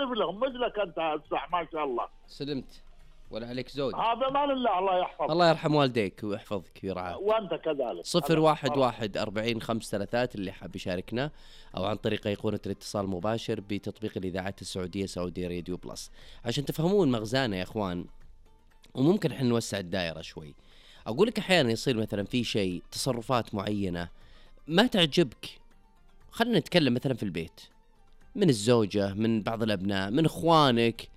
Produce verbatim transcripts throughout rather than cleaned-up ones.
أعرف لهم مثلك أنت هسه ما شاء الله. سلمت ولا عليك زود. هذا ما لله، الله يحفظك. الله يرحم والديك ويحفظك ويرعاك. وأنت كذلك. صفر واحد واحد أربعين خمسة ثلاثات اللي حاب يشاركنا، أو عن طريق أيقونة الاتصال المباشر بتطبيق الإذاعات السعودية سعودي راديو بلس، عشان تفهمون مغزانا يا إخوان. وممكن إحنا نوسع الدائرة شوي. أقول لك أحيانا يصير مثلا في شيء، تصرفات معينة ما تعجبك، خلنا نتكلم مثلا في البيت، من الزوجة، من بعض الأبناء، من إخوانك،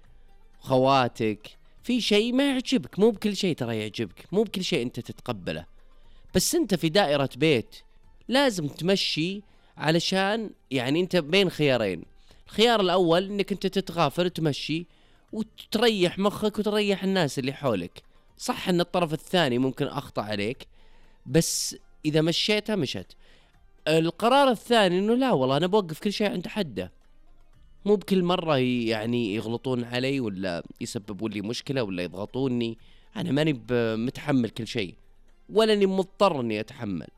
خواتك، في شيء ما يعجبك. مو بكل شيء ترى يعجبك، مو بكل شيء أنت تتقبله، بس أنت في دائرة بيت لازم تمشي، علشان يعني أنت بين خيارين. الخيار الأول أنك أنت تتغافر وتمشي وتريح مخك وتريح الناس اللي حولك. صح أن الطرف الثاني ممكن أخطأ عليك، بس إذا مشيتها مشت. القرار الثاني أنه لا والله أنا بوقف كل شيء عند حده، مو بكل مرة يعني يغلطون علي ولا يسببون لي مشكلة ولا يضغطوني. أنا ماني متحمل كل شيء ولا أني مضطر أني أتحمل.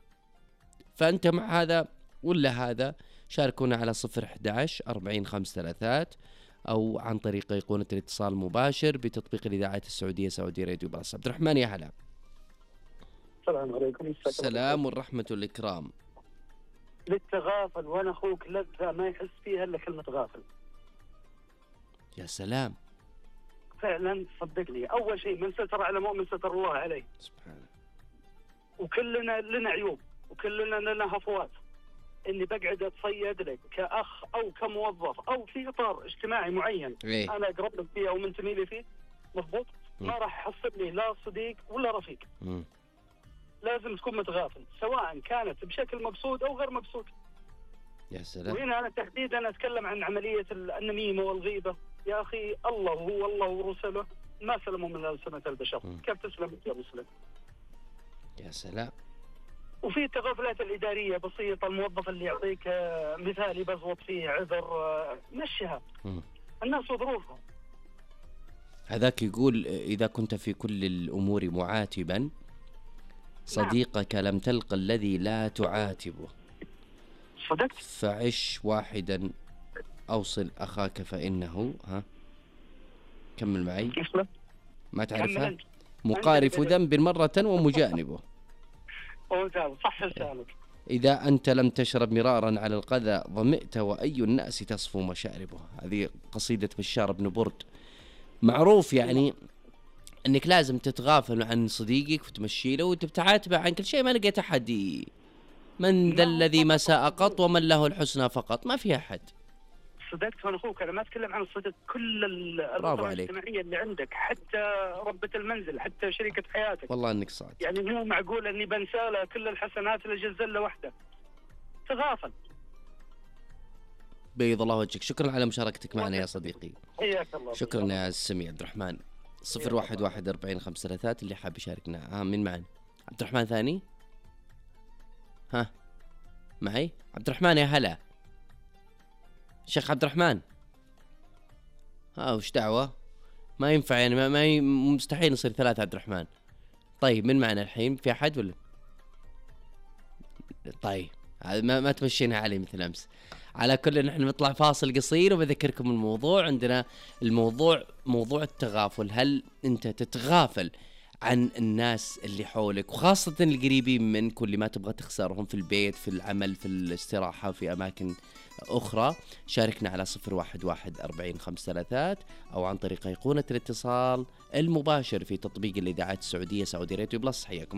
فأنت مع هذا ولا هذا؟ شاركونا على صفر أحد عشر أربعين خمسة ثلاثات، أو عن طريق أيقونة الاتصال المباشر بتطبيق الإذاعات السعودية سعودي راديو بلس. عبد الرحمن يا هلا. السلام عليكم. السلام والرحمة والإكرام. للتغافل وانا اخوك لذة ما يحس فيها الا كلمة غافل. يا سلام. فعلا صدقني، اول شيء من ستر على مؤمن ستر الله عليه سبحانه. وكلنا لنا عيوب وكلنا لنا هفوات. اني بقعد اتصيد لك كاخ او كموظف او في اطار اجتماعي معين إيه؟ انا اقرب لك فيه او منتمي لي فيه، مضبوط، ما راح يحصل لي لا صديق ولا رفيق. م. لازم تكون متغافل، سواء كانت بشكل مبسوط او غير مبسوط. يا سلام. وهنا انا تحديدا اتكلم عن عمليه النميمه والغيبه. يا اخي الله هو الله ورسله ما سلموا من ألسنة البشر. م. كيف تسلم يا مسلم؟ يا سلام. وفي التغافلات الإدارية بسيطة، الموظف اللي يعطيك مثالي بزوط فيه عذر مشيها. م. الناس وظروفهم. هذاك يقول إذا كنت في كل الأمور معاتبا صديقك نعم. لم تلق الذي لا تعاتبه. صدقت. فعش واحدا أوصل أخاك فإنه ها كمل معي. ما تعرفها؟ مقارف ذنب مرة ومجانبه. صح لسانك. إذا أنت لم تشرب مرارا على القذى ظمئت وأي الناس تصفو مشاربه. هذه قصيدة بشار بن برد. معروف يعني أنك لازم تتغافل عن صديقك وتمشي له وتبتعاتبه عن كل شيء. ما لقيت أحد من ذا الذي ما ساء قط ومن له الحسنى فقط، ما في أحد. صدقت وانا اخوك، انا ما اتكلم عن الصدق، كل الاطراف الاجتماعيه اللي عندك، حتى ربة المنزل، حتى شريكة حياتك. والله انك صادق. يعني مو معقول اني بنساله كل الحسنات اللي جزله وحده. تغافل. بيض الله وجهك. شكرا على مشاركتك معنا يا صديقي. حياك الله. شكرا يا السميع عبد الرحمن. صفر واحد واحد أربعين خمسة ثلاثات اللي حاب يشاركنا. ها من معنا؟ عبد الرحمن ثاني. ها معي عبد الرحمن يا هلا. شيخ عبد الرحمن. ها وش دعوة؟ ما ينفع يعني، ما, ما ي... مستحيل نصير ثلاثة عبد الرحمن. طيب من معنا الحين؟ في أحد ولا؟ طيب ما, ما تمشينها علي مثل أمس. على كل نحن نطلع فاصل قصير وبذكركم الموضوع. عندنا الموضوع موضوع التغافل. هل أنت تتغافل عن الناس اللي حولك وخاصة القريبين منك واللي ما تبغى تخسرهم في البيت، في العمل، في الاستراحة، في أماكن أخرى؟ شاركنا على صفر واحد واحد أربعين خمسة ثلاثات أو عن طريق أيقونة الاتصال المباشر في تطبيق الإذاعات السعودية سعودي راديو بلس. حياكم.